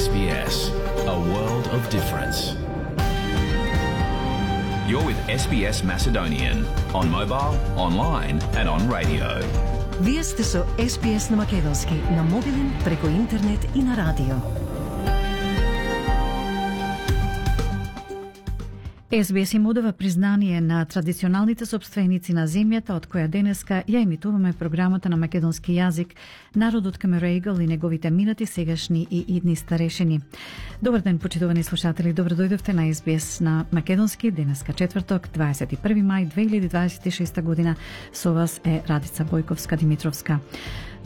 SBS, a world of difference. You're with SBS Macedonian on mobile, online and on radio. Вие сте со SBS на македонски, на мобилен, преку интернет и на радио. SBS им одава признание на традиционалните сопственици на земјата, од која денеска ја емитуваме програмата на македонски јазик, народот Камерејгал и неговите минати, сегашни и идни старешини. Добар ден, почитувани слушатели, добро дојдовте на SBS на македонски, денеска четврток, 21 мај 2026 година. Со вас е Радица Бојковска-Димитровска.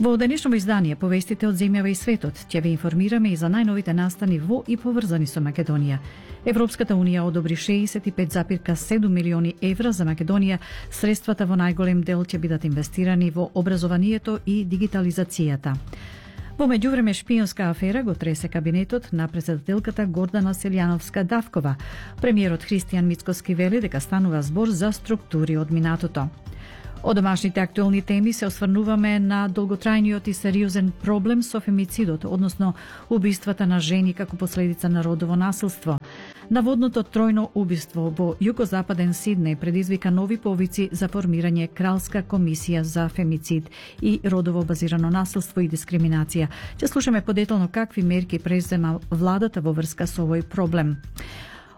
Во денешното издание повестите од земјава и светот ќе ве информираме и за најновите настани во и поврзани со Македонија. Европската унија одобри 65,7 милиони евра за Македонија. Средствата во најголем дел ќе бидат инвестирани во образованието и дигитализацијата. Во меѓувреме шпионска афера го тресе кабинетот на председателката Гордана Селјановска-Давкова. Премиерот Христијан Мицкоски вели дека станува збор за структури од минатото. Од домашните актуелни теми се осврнуваме на долготрајниот и сериозен проблем со фемицидот, односно убиствата на жени како последица на родово насилство. Наводното тројно убиство во југозападен Сиднеј предизвика нови повици за формирање кралска комисија за фемицид и родово базирано насилство и дискриминација. Ќе слушаме подетално какви мерки презема владата во врска со овој проблем.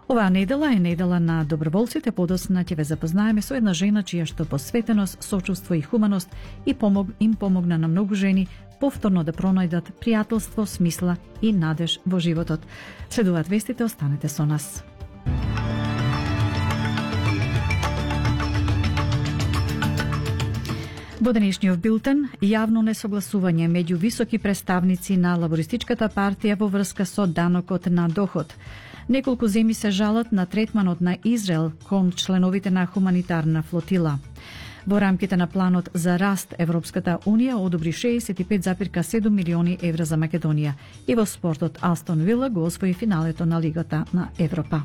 Оваа недела е недела на доброволците. Подосна ќе ве запознаеме со една жена чија што посветеност, сочувство и хуманост им помогна на многу жени повторно да пронајдат пријателство, смисла и надеж во животот. Следуваат вестите, останете со нас. Во денешниот билтен, јавно несогласување меѓу високи представници на Лабористичката партија во врска со данокот на доход. Неколку земји се жалат на третманот на Израел кон членовите на хуманитарна флотила. Во рамките на планот за раст, Европската унија одобри 65,7 милиони евра за Македонија. И во спортот, Астон Вила го освои финалето на Лигата на Европа.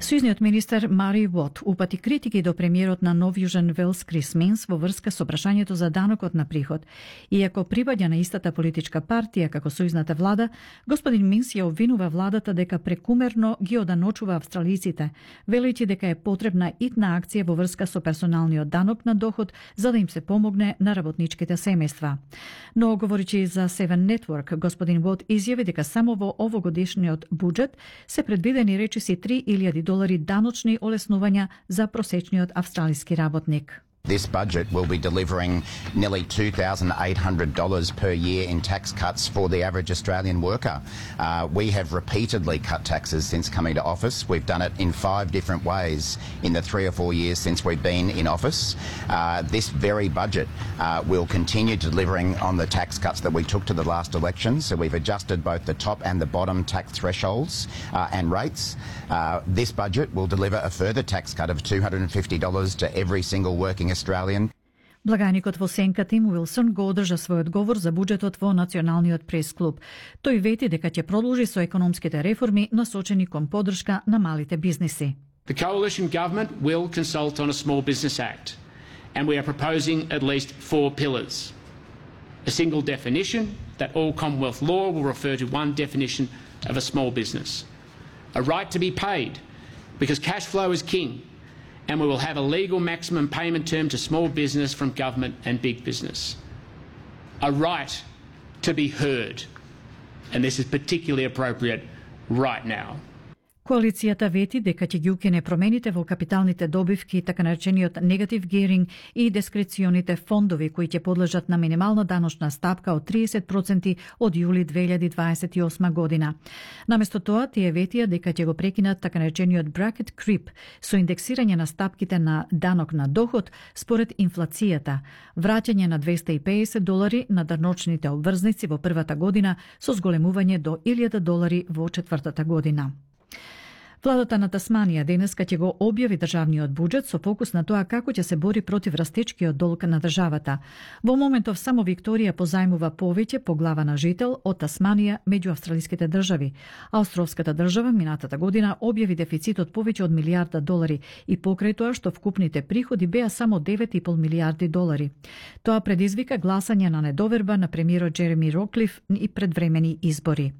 Сојузниот министер Мари Вот упати критики до премиерот на Нов Јужен Велс Крис Минс во врска со прашањето за данокот на приход. Иако припаѓа на истата политичка партија како сојузната влада, господин Минс ја обвинува владата дека прекумерно ги оданочува австралиците, велејќи дека е потребна итна акција во врска со персоналниот данок на доход за да им се помогне на работничките семејства. Но говоричи за Seven Network, господин Вот изјави дека само во овогодишниот буџет се предвидени речиси $3,000 даночни олеснувања за просечниот австралиски работник. This budget will be delivering nearly $2,800 per year in tax cuts for the average Australian worker. We have repeatedly cut taxes since coming to office. We've done it in 5 different ways in the 3 or 4 years since we've been in office. This very budget will continue delivering on the tax cuts that we took to the last election. So we've adjusted both the top and the bottom tax thresholds and rates. This budget will deliver a further tax cut of $250 to every single working Australian. Благајникот во сенка Тим Уилсон го одржа својот говор за буџетот во Националниот прес-клуб. Тој вети дека ќе продолжи со економските реформи насочени кон поддршка на малите бизниси. The coalition government will consult on a Small Business Act, and we are proposing at least 4 pillars. A single definition that all Commonwealth law will refer to one definition of a small business. A right to be paid, because cash flow is king. And we will have a legal maximum payment term to small business from government and big business. A right to be heard, and this is particularly appropriate right now. Коалицијата вети дека ќе ги укине промените во капиталните добивки, така наречениот негатив геринг и дискреционите фондови кои ќе подлежат на минимална даночна стапка од 30% од јули 2028 година. Наместо тоа, тие ветија дека ќе го прекинат така наречениот bracket creep со индексирање на стапките на данок на доход според инфлацијата, враќање на $250 на даночните обврзници во првата година со зголемување до $1,000 во четвртата година. Владата на Тасманија денеска ќе го објави државниот буџет со фокус на тоа како ќе се бори против растечкиот долг на државата. Во моментов само Викторија позајмува повеќе по глава на жител од Тасманија меѓу австралиските држави. Австралската држава минатата година објави дефицит од повеќе од $1,000,000 и покрај тоа што вкупните приходи беа само $9,5 милијарди. Тоа предизвика гласање на недоверба на премиерот Джереми Роклиф и предвремени избори.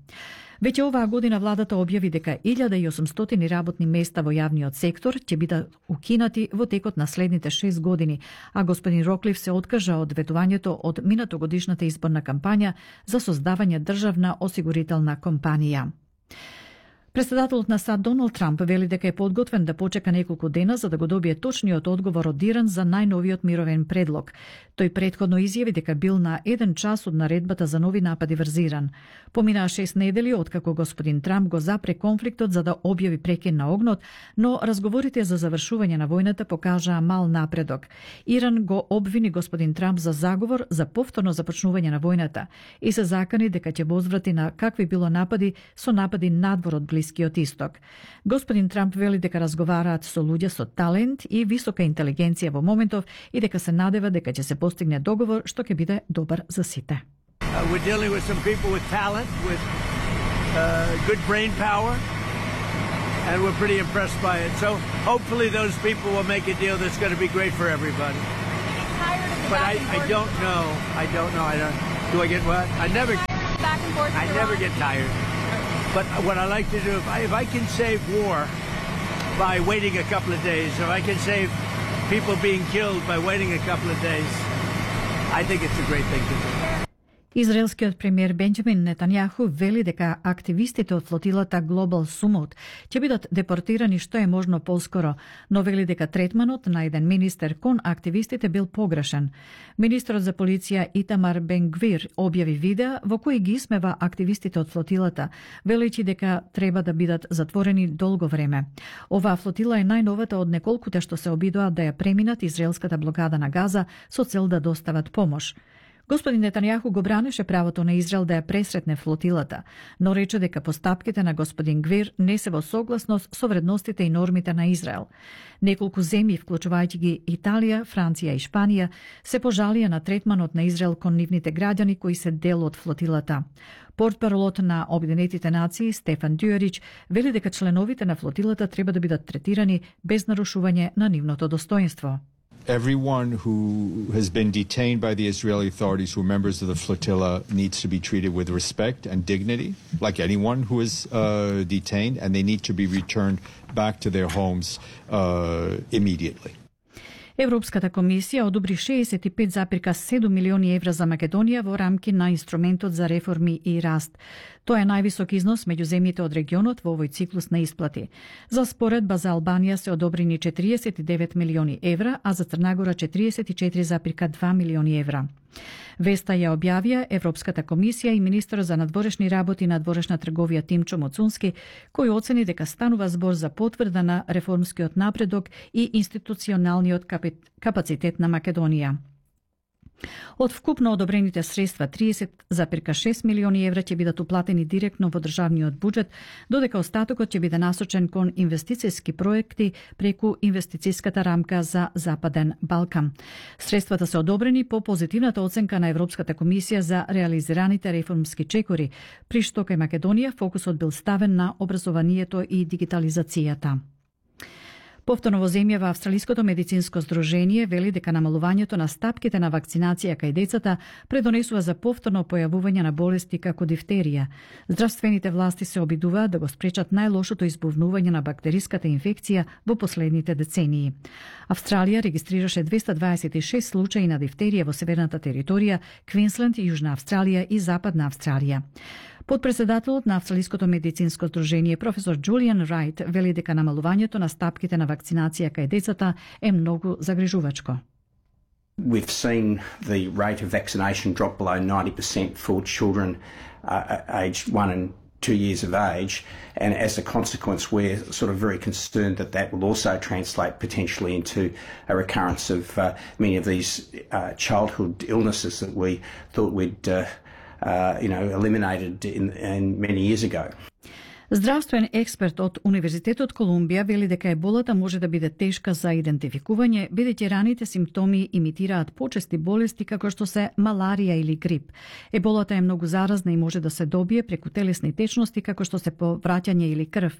Веќе оваа година владата објави дека 1800 работни места во јавниот сектор ќе бидат укинати во текот на следните 6 години, а господин Роклиф се откажа од ветувањето од минатогодишната изборна кампања за создавање државна осигурителна компанија. Председателот на САД Доналд Трамп вели дека е подготвен да почека неколку дена за да го добие точниот одговор од Иран за најновиот мировен предлог. Тој претходно изјави дека бил на 1 час од наредбата за нови напади врз Иран. Поминаа 6 недели откако господин Трамп го запре конфликтот за да објави прекин на огнот, но разговорите за завршување на војната покажаа мал напредок. Иран го обвини господин Трамп за заговор за повторно започнување на војната и се закани дека ќе возврати на какви било напади со напади надвор од Блискиот исток. Господин Трамп вели дека разговараат со луѓе со талент и висока интелигенција во моментов и дека се надева дека ќе се постигне договор што ќе биде добар за сите. We're dealing with some people with talent, with good brain power, and we're pretty impressed by it. So hopefully those people will make a deal that's going to be great for everybody. But I don't know. Do I get what? I never get tired. But what I like to do, if I can save war by waiting a couple of days, if I can save people being killed by waiting a couple of days, I think it's a great thing to do. Израелскиот премиер Бенџамин Нетањаху вели дека активистите од флотилата Global Summit ќе бидат депортирани што е можно поскоро, но вели дека третманот на еден министер кон активистите бил погрешен. Министерот за полиција Итамар Бен Гвир објави видеа во кои ги исмева активистите од флотилата, велејќи дека треба да бидат затворени долго време. Оваа флотила е најновата од неколкуте што се обидоа да ја преминат израелската блокада на Газа со цел да достават помош. Господин Нетањаху го бранеше правото на Израел да ја пресретне флотилата, но рече дека постапките на господин Гвир не се во согласност со вредностите и нормите на Израел. Неколку земји, вклучувајќи ги Италија, Франција и Шпанија, се пожалија на третманот на Израел кон нивните граѓани кои се дел од флотилата. Портпаролот на Обединетите нации Стефан Дюерич вели дека членовите на флотилата треба да бидат третирани без нарушување на нивното достоинство. Everyone who has been detained by the Israeli authorities who are members of the flotilla needs to be treated with respect and dignity, like anyone who is detained, and they need to be returned back to their homes immediately. Европската комисија одобри 65,7 милиони евра за Македонија во рамки на инструментот за реформи и раст. Тоа е највисок износ меѓу земјите од регионот во овој циклус на исплати. За споредба за Албанија се одобрени 49 милиони евра, а за Црнагора 44,2 милиони евра. Веста ја објавија Европската комисија и министерот за надворешни работи и надворешна трговија Тимчо Моцунски, кој оцени дека станува збор за потврда на реформскиот напредок и институционалниот капацитет на Македонија. Од вкупно одобрените средства 30,6 милиони евра ќе бидат уплатени директно во државниот буџет, додека остатокот ќе биде насочен кон инвестицијски проекти преку инвестицијската рамка за Западен Балкан. Средствата се одобрени по позитивната оценка на Европската комисија за реализираните реформски чекори, при што кај Македонија фокусот бил ставен на образованието и дигитализацијата. Повторно во земјава Австралиското медицинско здружение вели дека намалувањето на стапките на вакцинација кај децата предонесува за повторно појавување на болести како дифтерија. Здравствените власти се обидуваат да го спречат најлошото избувнување на бактериската инфекција во последните децении. Австралија регистрираше 226 случаи на дифтерија во северната територија, Квинсленд, Јужна Австралија и Западна Австралија. Подпредседателот на Австралиското медицинско здружение професор Џулијан Рајт вели дека намалувањето на стапките на вакцинација кај децата е многу загрижувачко. We've seen the rate of vaccination drop below 90% for children aged 1 and 2 years of age, and as a consequence we're sort of very concerned that that will also translate potentially into a recurrence of many of these childhood illnesses that we thought we'd eliminated in many years ago. Здравствен експерт од Универзитетот Колумбија вели дека еболата може да биде тешка за идентификување, бидејќи раните симптоми имитираат почести болести како што се маларија или грип. Еболата е многу заразна и може да се добие преку телесни течности како што се повраќање или крв.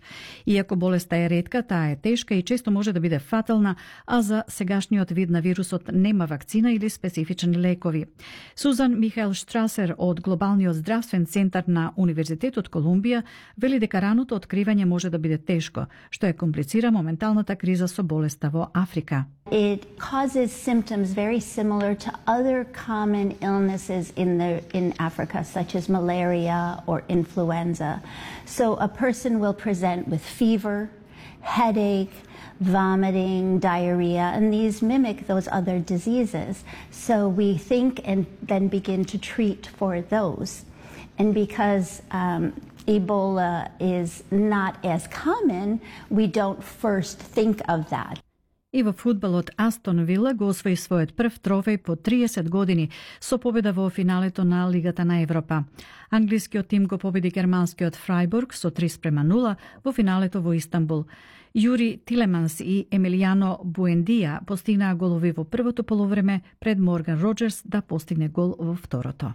Иако болеста е ретка, таа е тешка и често може да биде фатална, а за сегашниот вид на вирусот нема вакцина или специфични лекови. Сузан Михаел Штрасер од Глобалниот здравствен центар на Универзитетот Колумбија вели дека раното откривање може да биде тешко, што е комплицира моменталната криза со болеста во Африка. It causes symptoms very similar to other common illnesses in Africa, such as malaria or influenza. So a person will present with fever, headache, vomiting, diarrhea, and these mimic those other diseases. So we think and then begin to treat for those. And because Ebola is not as common, we don't first think of that. И во фудбалот Астон Вила го освои својот прв трофеј по 30 години со победа во финалето на Лигата на Европа. Англискиот тим го победи германскиот Фрајбург со 3:0 во финалето во Истанбул. Јури Тилеманс и Емилијано Буендија постигнаа голови во првото полувреме пред Морган Роџерс да постигне гол во второто.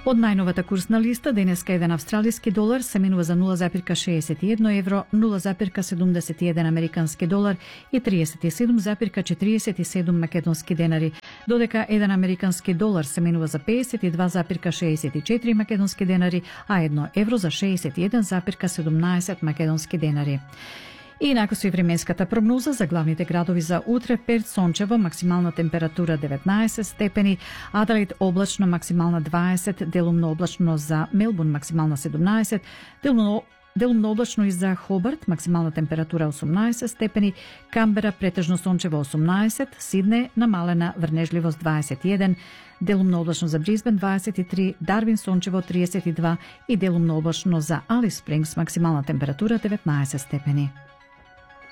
Од најновата курсна листа, денеска еден австралиски долар се менува за 0,61 евро, 0,71 американски долар и 37,47 македонски денари, додека еден американски долар се менува за 52,64 македонски денари, а 1 евро за 61,17 македонски денари. И инаку со и временската прогноза за главните градови за утре: Перт сончево, максимална температура 19 степени, Аделаид облачно, максимална 20, делумно облачно за Мелбурн, максимална 17, делумно облачно и за Хобарт, максимална температура 18 степени, Камбера претежно сончево 18, Сидне намалена врнежливост 21, делумно облачно за Брисбен 23, Дарвин сончево 32 и делумно облачно за Алис Спрингс, максимална температура 19 степени.